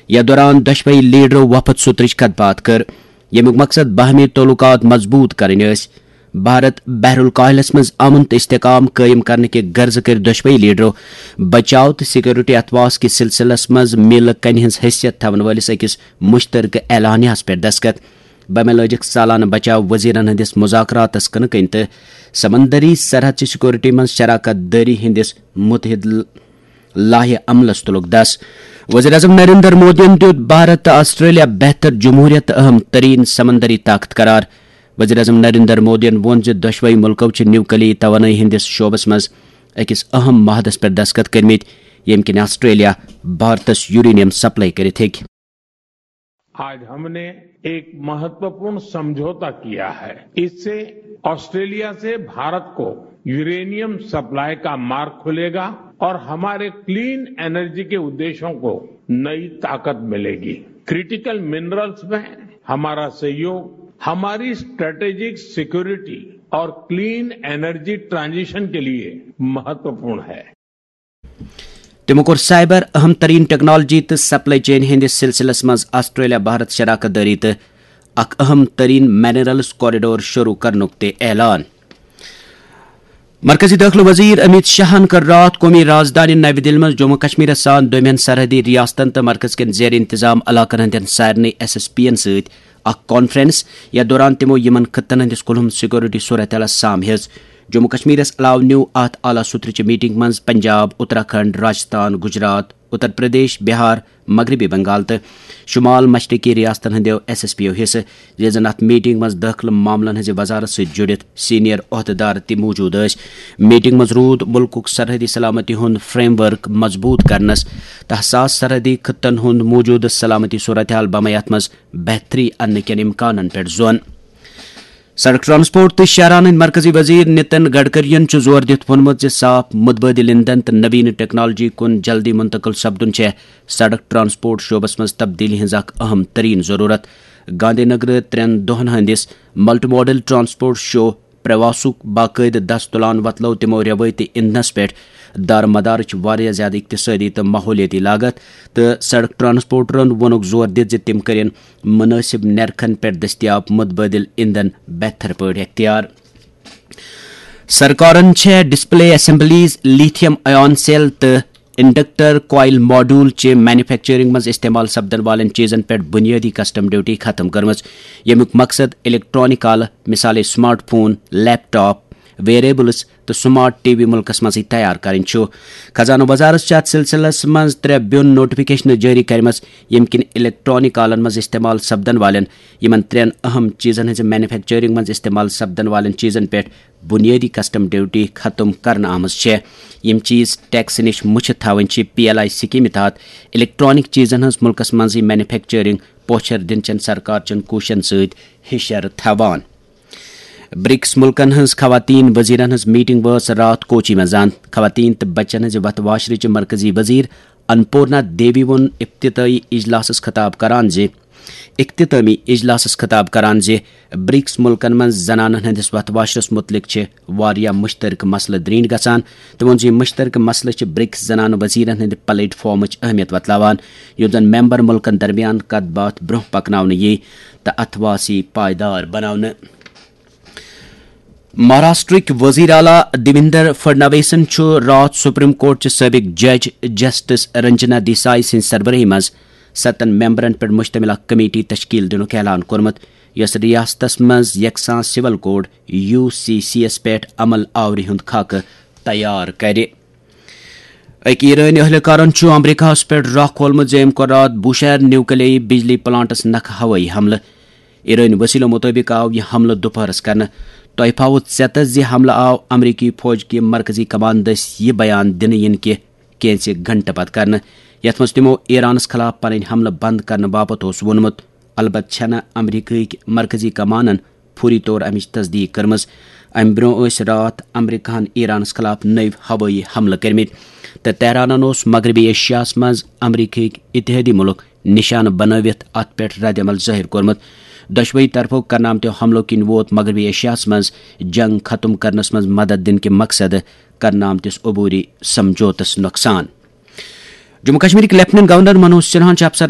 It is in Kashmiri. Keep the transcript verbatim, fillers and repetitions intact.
یتھ دوران دۄشوے لیڈرو وفد سترٕچ کتھ باتھ کٔر، ییٚمیُک مقصد باہمی تعلقات مضبوط کرٕنۍ ٲسۍ۔ بھارت بحر الکاہلس منٛز امن تہٕ استحکام قٲیِم کرنہٕ کہِ غرضہٕ کٔرۍ دۄشوے لیڈرو بچاو تہٕ سیکورٹی اتواس کِس سلسلس منٛز میلہٕ کنہِ ہٕنٛز حیثیت تھاون وٲلِس أکِس مشترکہٕ اعلامیہس پٮ۪ٹھ دستخط۔ بمے لٲجِکھ سالانہٕ بچاو وزیرن ہٕنٛدِس مذاکراتس کٕنہٕ کٔنۍ تہٕ سمندری سرحد چہِ سیکورٹی منٛز شراکت دٲری ہٕنٛدِس متحد لایحہ عملس تُلُکھ دس۔ وزیر اعظم نریندر مودیَن دیُت بھارت تہٕ آسٹریلیا بہتر جمہوریت تہٕ اہم ترین سمندری طاقت قرار۔ وزیر اعظم نریندر مودیَن ووٚن زِ دۄشوے مُلکو چھِ نیوکلی توانٲیی ہٕنٛدِس شعبس منٛز أکِس اہم معاہدس پٮ۪ٹھ دستخط کٔرمٕتۍ، ییٚمہِ کِنۍ آسٹریلیا بھارتس یورینیم سپلائی کٔرِتھ ہیٚکہِ۔ आज हमने एक महत्वपूर्ण समझौता किया है। इससे ऑस्ट्रेलिया से भारत को यूरेनियम सप्लाई का मार्ग खुलेगा और हमारे क्लीन एनर्जी के उद्देश्यों को नई ताकत मिलेगी। क्रिटिकल मिनरल्स में हमारा सहयोग हमारी स्ट्रेटेजिक सिक्योरिटी और क्लीन एनर्जी ट्रांजिशन के लिए महत्वपूर्ण है। تِمو کوٚر سائبر، اہم ترین ٹیکنالوجی تہٕ سپلائی چین ہٕنٛدِس سلسلس منٛز آسٹریلیا بھارت شراکت دٲری تہٕ اکھ اہم ترین منرلز کوریڈور شروع کرنُک تہِ اعلان۔ مرکزی دٲخلہٕ وزیر امیت شاہن کٔر راتھ قومی رازدانہِ نَوِ دِلہِ منٛز جموں کشمیرس سان دوٚیمٮ۪ن سرحدی ریاستن تہٕ مرکز کٮ۪ن زیر انتظام علاقن ہٕنٛدٮ۪ن سارنٕے ایس ایس پی ین سۭتۍ اکھ کانفرنس، یتھ دوران تِمو یِمن خطن ہٕنٛدِس کُلہُم سیکورٹی صورتحالس سام ہیٚژ۔ جموں کشمیرس علاوٕ نیوٗ اتھ اعلیٰ سطرٕچہِ میٹنگ منٛز پنجاب، اتراکھنڈ، راجستھان، گجرات، اتر پردیش، بہار، مغربی بنگال تہٕ شمال مشرقی ریاستن ہٕنٛدیو ایس ایس پیو حصہٕ، ییٚلہِ زن اتھ میٹنگ منٛز دٲخلہٕ معاملن ہٕنٛزِ وزارت سۭتۍ جُڑِتھ سینئر عہدٕدار تہِ موجود ٲسۍ۔ میٹنگ منٛز روٗد مُلکُک سرحدی سلامتی ہُنٛد فریم ورک مضبوٗط کرنس تہٕ حساس سرحدی خطن ہُنٛد موجودٕ سلامتی صورتحال بمے اتھ منٛز بہتری اننہٕ کٮ۪ن امکانن پٮ۪ٹھ زون۔ سڑک ٹرانسپورٹ تہٕ شاہراہن ہٕنٛدۍ مرکزی وزیر نتن گڈکرین چھُ زور دِتھ ووٚنمُت زِ صاف، متبادل ایندھن تہٕ نوین ٹیکنالوجی کُن جلدی منتقل سپدُن چھےٚ سڑک ٹرانسپورٹ شعبس منٛز تبدیلی ہٕنٛز اکھ اہم ترین ضرورت۔ گاندھی نگر ترٛٮ۪ن دۄہن ہٕنٛدِس ملٹی ماڈل ٹرانسپورٹ شو پریواسُک باقٲعدٕ دس تُلان وۄتلٲو تِمو رٮ۪وٲیتی ایندھنس پٮ۪ٹھ دارمدارٕچ واریاہ زیادٕ اقتصٲدی تہٕ ماحولیٲتی لاگت، تہٕ سڑک ٹرانسپورٹرن ووٚنُکھ زور دِتھ زِ تِم کٔرِن مناسب نرخن پٮ۪ٹھ دٔستیاب متبادل ایندھن بہتر پٲٹھۍ اختیار۔ سرکارن چھےٚ ڈسپلے اسمبلیز، لیتھیم آیان سیل تہٕ انڈکٹر کوائل ماڈیول چہِ مینوفیکچرنگ منٛز استعمال سپدن والٮ۪ن چیزن پٮ۪ٹھ بنیٲدی کسٹم ڈیوٹی ختم کٔرمٕژ، ییٚمیُک مقصد الیکٹرانک آلہٕ، مثالے سمارٹ فون، لیپ ٹاپ، ویریبلز تہٕ سمارٹ ٹی وی مُلکس منٛزٕے تیار کرٕنۍ چھُ۔ خزانہٕ وزارت چھِ اتھ سلسلس منٛز ترٛےٚ بیوٚن نوٹیفکیشنہٕ جٲری کرِمژٕ، ییٚمہِ کِنۍ الیکٹرانک آلن منٛز استعمال سپدن والٮ۪ن یِمن ترٛٮ۪ن اہم چیزن ہٕنٛزِ مینوفیکچرنگ منٛز استعمال سپدن والٮ۪ن چیزن پٮ۪ٹھ بنیٲدی کسٹم ڈیوٹی ختم کرنہٕ آمٕژ چھےٚ۔ یِم چیز ٹیکس نِش مُچھِ تھاوٕنۍ چھِ پی ایل آئی سکیمہِ تحت الیکٹرانک چیزن ہٕنٛز مُلکس منٛزٕے مینوفیکچرنگ پوچھر دِنہٕ چٮ۪ن سرکار چٮ۪ن کوٗششن سۭتۍ ہِشر تھاوان۔ برکس مُلکن ہٕنٛز خواتین وزیرن ہٕنٛز میٹنگ وٲژ راتھ کوچی منٛز اند۔ خواتین تہٕ بچن ہٕنٛزِ وتھ واشرٕچ مرکزی وزیر انپورنا دیوی ووٚن افتتاحی اجلاسس خطاب کران زِ اختتامی اجلاسس خطاب کران زِ برکس مُلکن منٛز زنانن ہٕنٛدِس وتھ واشرس مُتعلق چھِ واریاہ مشترکہٕ مسلہٕ درینٹھ گژھان۔ تٔمۍ ووٚن زِ یِم مشترکہٕ مسلہٕ چھِ برکس زنانہٕ وزیرن ہٕنٛدِ پلیٹ فارمٕچ اہمیت وۄتلاوان، یُتھ زن ممبر مُلکن درمیان کتھ باتھ برونٛہہ پکناونہٕ ییہِ تہٕ اتھواسی پائیدار بناونہٕ۔ مہاراشٹرٕکۍ وزیر اعلیٰ دیویندر فڈنویسن چھُ راتھ سپریم کورٹ چہِ سٲبق جج جسٹس رنجنا دیسائی سٕنٛزِ سربرٲہی منٛز ستن ممبرن پٮ۪ٹھ مشتمل اکھ کمیٹی تشکیل دِنُک اعلان کوٚرمُت، یۄس ریاستس منٛز یکساں سول کوڈ، یو سی سی یس پٮ۪ٹھ عمل آوری ہُنٛد خاکہٕ تیار کرِ۔ أکۍ ایرٲنۍ اہلکارن چھُ امریکہس پٮ۪ٹھ راہ کھولمُت زِ أمۍ کوٚر راتھ بوشہر نیوکلیائی بجلی پلانٹس نکھٕ ہوٲیی حملہٕ۔ ایرٲنۍ وسیلو مُطٲبِق آو یہِ حملہٕ دُپہرس کرنہٕ۔ تۄہہِ پھاوُت ژٮ۪تس زِ حملہٕ آو امریکی فوج کہِ مرکزی کمان دٔسۍ یہِ بیان دِنہٕ یِنہٕ کہِ کینٛژِ گھنٹہٕ پتہٕ کرنہٕ، یتھ منٛز تِمو ایرانس خلاف پنٕنۍ حملہٕ بند کرنہٕ باپتھ اوس ووٚنمُت۔ البتہٕ چھنہٕ امریکہٕکۍ مرکزی کمانن فوری طور امِچ تصدیق کٔرمٕژ۔ امہِ برٛونٛہہ ٲسۍ راتھ امریکہن ایرانس خلاف نٔوۍ ہوٲیی حملہٕ کٔرمٕتۍ، تہٕ تہرانن اوس مغربی ایشیاہس منٛز امریکہٕکۍ اتحادی مُلک نشانہٕ بنٲوِتھ اتھ پٮ۪ٹھ رد عمل ظٲہِر کوٚرمُت۔ دۄشوٕے طرفو کرنہٕ آمتیو حملو کِنۍ ووت مغربی ایشیاہس منٛز جنگ ختم کرنس منٛز مدد دِنہٕ کہِ مقصدٕ کرنہٕ آمتِس عبوری سمجھوتس نۄقصان۔ جموں کشمیرٕکۍ لیفٹیننٹ گورنر منوج سنہاہن چھِ افسرن